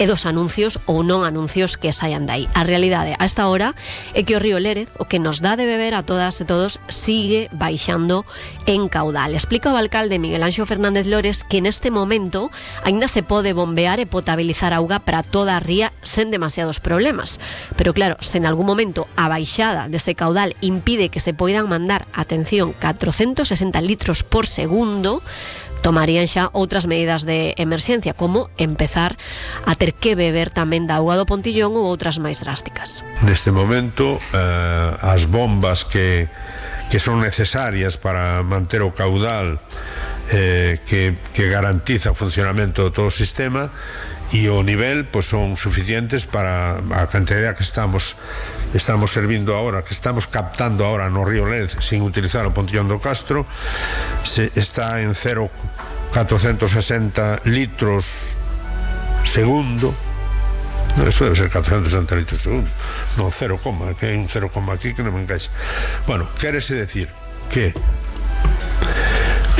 e dos anuncios ou non anuncios que saian dai. A realidade a esta hora é que o río Lérez, o que nos dá de beber a todas e todos, sigue baixando en caudal. Explica o alcalde Miguel Anxo Fernández Lores que neste momento aínda se pode bombear e potabilizar auga para toda a ría sen demasiados problemas. Pero claro, se en algún momento a baixada dese caudal impide que se poidan mandar, atención, 460 litros por segundo, tomarían xa outras medidas de emerxencia, como empezar a ter que beber tamén da auga do Pontillón ou outras máis drásticas. Neste momento, as bombas que son necesarias para manter o caudal que garantiza o funcionamento de todo o sistema e o nivel, pois son suficientes para a cantidad que estamos servindo ahora, que estamos captando ahora no río Lérez sin utilizar o Pontillón do Castro. Está en 0,460 litros segundo. No, eso debe ser 460 litros segundo, non 0, que hai un 0, aquí que non me encaixa. Bueno, quérese decir que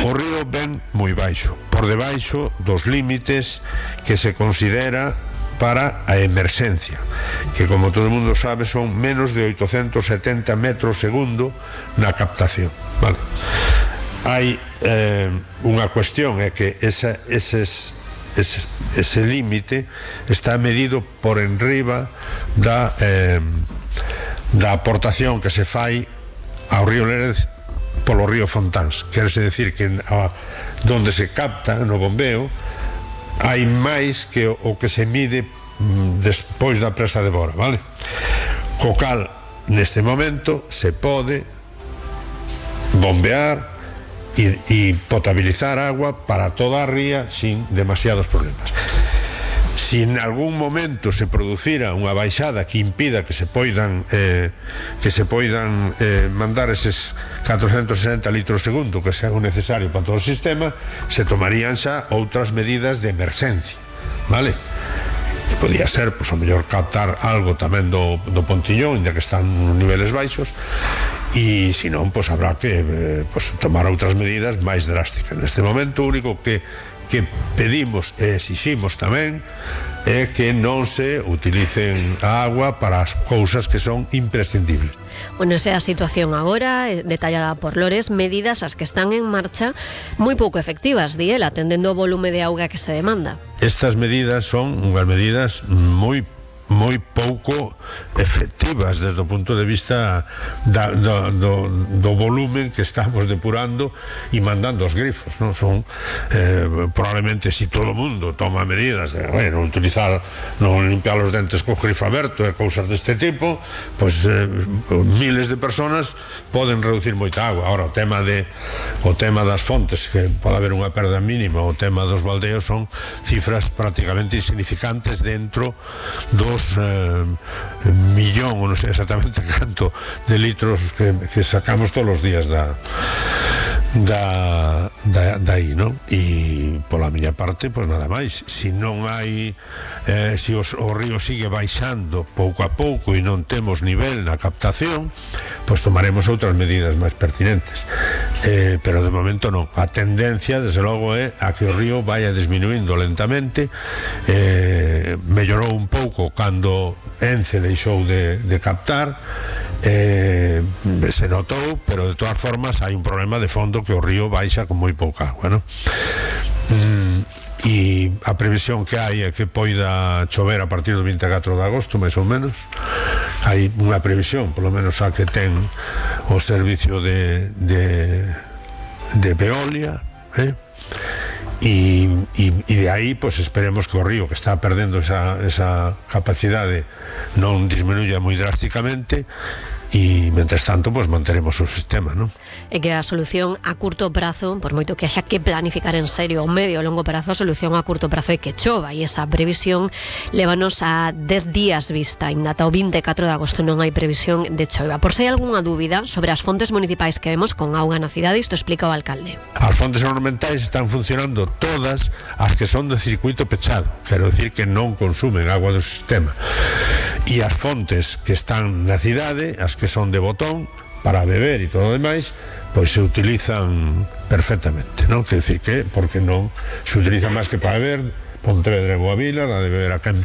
o río ven moi baixo, por debaixo dos límites que se considera para a emerxencia, que como todo o mundo sabe son menos de 870 metros segundo na captación, vale? Hai unha cuestión, é que ese límite está medido por enriba da aportación que se fai ao río Lérez polo río Fontáns. Querese decir que donde se capta no bombeo hai máis que o que se mide despois da presa de Bora, vale? Co cal, neste momento se pode bombear e potabilizar agua para toda a ría sin demasiados problemas. Si en algún momento se producira unha baixada que impida que se poidan mandar eses 460 litros segundo que sea necesario para todo o sistema, se tomarían xa outras medidas de emerxencia, vale? Podía ser, pois, o mellor captar algo tamén do Pontillón, ya que están nos niveles baixos, e se non, pois habrá que tomar outras medidas máis drásticas. Neste momento, o único que pedimos e exiximos tamén é que non se utilicen a agua para as cousas que son imprescindibles. Bueno, esa é a situación agora, detallada por Lores, medidas as que están en marcha moi pouco efectivas, di el, atendendo o volume de auga que se demanda. Estas medidas son unhas medidas moi pouco efectivas desde o punto de vista do volumen que estamos depurando e mandando os grifos, non? Son probablemente, si todo o mundo toma medidas de non utilizar, non limpiar os dentes co grifo aberto e cousas deste tipo, pois miles de personas poden reducir moita agua. Ahora, o tema das fontes, que pode haber unha perda mínima, o tema dos baldeos son cifras prácticamente insignificantes dentro dos millón, ou non sei exactamente canto de litros que sacamos todos os días daí, non? E pola miña parte, pois nada máis. Si non hai si o río sigue baixando pouco a pouco e non temos nivel na captación, pois tomaremos outras medidas máis pertinentes, pero de momento non. A tendencia, desde logo, é a que o río vaya disminuindo lentamente. Mellorou un pouco cando Ence deixou de captar, se notou, pero de todas formas hai un problema de fondo, que o río baixa con moi pouca agua, non? E a previsión que hai é que poida chover a partir do 24 de agosto, máis ou menos. Hai unha previsión, polo menos a que ten o servicio de Veolia, e de aí, pois, esperemos que o río, que está perdendo esa capacidade, non disminuya moi drásticamente, e, mentres tanto, pois manteremos o sistema, non? É que a solución a curto prazo, por moito que haxa que planificar en serio o medio e longo prazo, a solución a curto prazo é que chova, e esa previsión lévanos a 10 días vista. Ainda ata o 24 de agosto non hai previsión de choiva. Por se hai algunha dúbida sobre as fontes municipais que vemos con auga na cidade, isto explica o alcalde. As fontes ornamentais están funcionando todas as que son de circuito pechado, quero decir que non consumen agua do sistema, e as fontes que están na cidade, as que son de botón para beber e todo o demais, pois se utilizan perfectamente, non? Quer decir que, porque non se utiliza máis que para beber, Pontevedra e Boavila, dá de beber a Campa